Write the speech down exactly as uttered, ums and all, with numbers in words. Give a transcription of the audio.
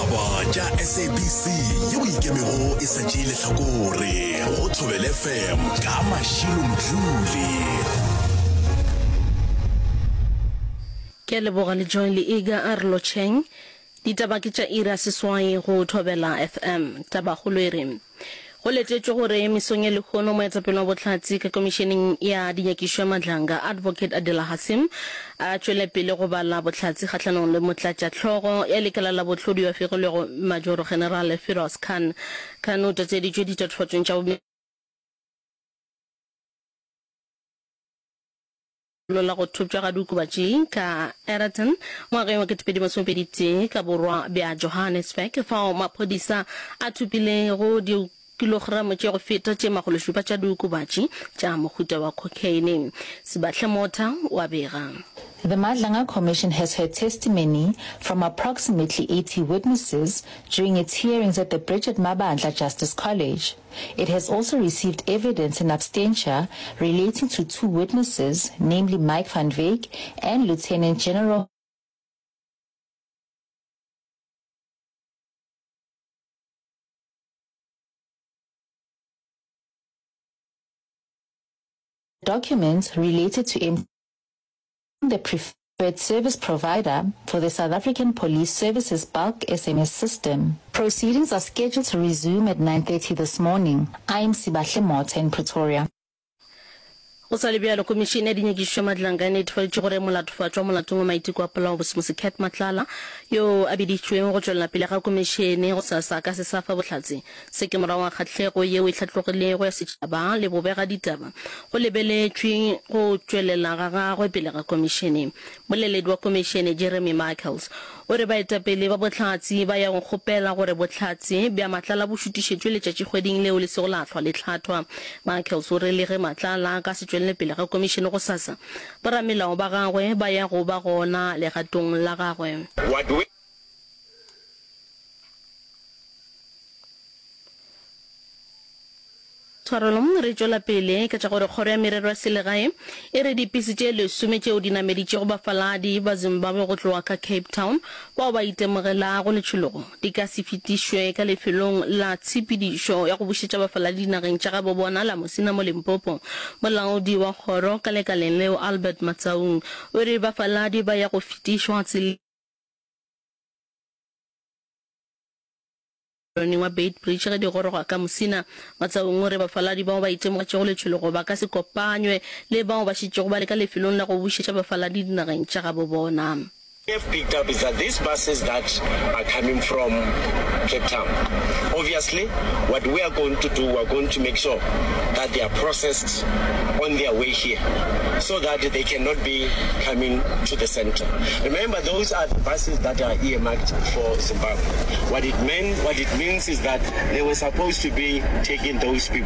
Ditaba tša S A B C yeo ikemego e sa tšee lehlakore go Thobela F M ka Mashilo Mdluli. Ke a leboga le Joy le Iga a re lotšheng. Ditaba ke tša iri ya seswai go Thobela F M. Tabakgolo e re go letetšwe gore mesong ya lehono moetapele wa bohlatse ka komišeneng ya dinyakišo ya Madlanga Advocate Adela Hassim a tšwele pele go bala bohlatse kgahlanong le motlatšahlogo ya lekala la bohlodi yo a fegilwego Majoro General Firoz Khan. Khan o tlatšeditšwe ditatofatšong tša la go thopša ga diokobatši ka Aeroton ngwageng wa ketepedi masomepedi tee ka borwa bja Johannesburg fao maphodisa a thopilego dikilogramo tše go feta tše makgološupa tša diokobatši tša mohuta wa cocaine. Sebahle Motha o a bega. The Madlanga Commission has heard testimony from approximately eighty witnesses during its hearings at the Bridget Mabandla Justice College. It has also received evidence in absentia relating to two witnesses, namely Mike van Wyk and Lieutenant General Documents related to emptying the preferred service provider for the South African Police Services bulk S M S system. Proceedings are scheduled to resume at nine thirty this morning. I'm Sibahle Motha in Pretoria. Go sa le bjalo, Komišene ya Dinyakišišo ya Madlanga e netefaditše gore molatofatšwa molatong wa maiteko a polao Bosimosi Cat Matlala yo a biditšwego go tšwelela pele ga komišene gosasa a ka se sa fa bohlatse. Se ke morago ga kgahlego yeo e hlatlogilego ya setšhaba le bobegaditaba go lebeletšwe go tšwelela ga gagwe pele ga komišene. Moleledi wa komišene Jeremy Michaels o re baetapele ba bohlatse ba ya go kgopela gore bohlatse bja Matlala bo šutišetšwe letšatšikgweding leo le sego la hlwa le hlathwa. Michaels o re le ge Matlala a ka se tšwelele pele ga komišene gosasa, boramelao ba gagwe ba ya go ba gona legatong la gagwe. What we Tshwarelo, re tšwela pele ka tša gore Kgoro ya Merero ya Selegae e re dipese tše lesome tšeo di nameditšego bafaladi ba Zimbabwe go tloga ka Cape Town bao ba itemogelago letšhologo di ka se fetišwe ka lefelong la tshepedišo ya go bušetša bafaladi dinageng tša gabo bona la Musina mo Limpopo. Molaodi wa kgoro ka lekaleng leo Albert Matsaung o re bafaladi ba ya go fetišwa tseleng wa Beitbridge ge di goroga ka Musina. Matsaung o re bafaladi bao ba itemogetšego letšhologo ba ka se kopanywe le bao ba šetšego ba le ka lefelong la go bušetša bafaladi dinageng tša gabo bona. Have picked up is that these buses that are coming from Cape Town, obviously what we are going to do, we are going to make sure that they are processed on their way here so that they cannot be coming to the center. Remember, those are the buses that are earmarked for Zimbabwe. What it meant, what it means is that they were supposed to be taking those people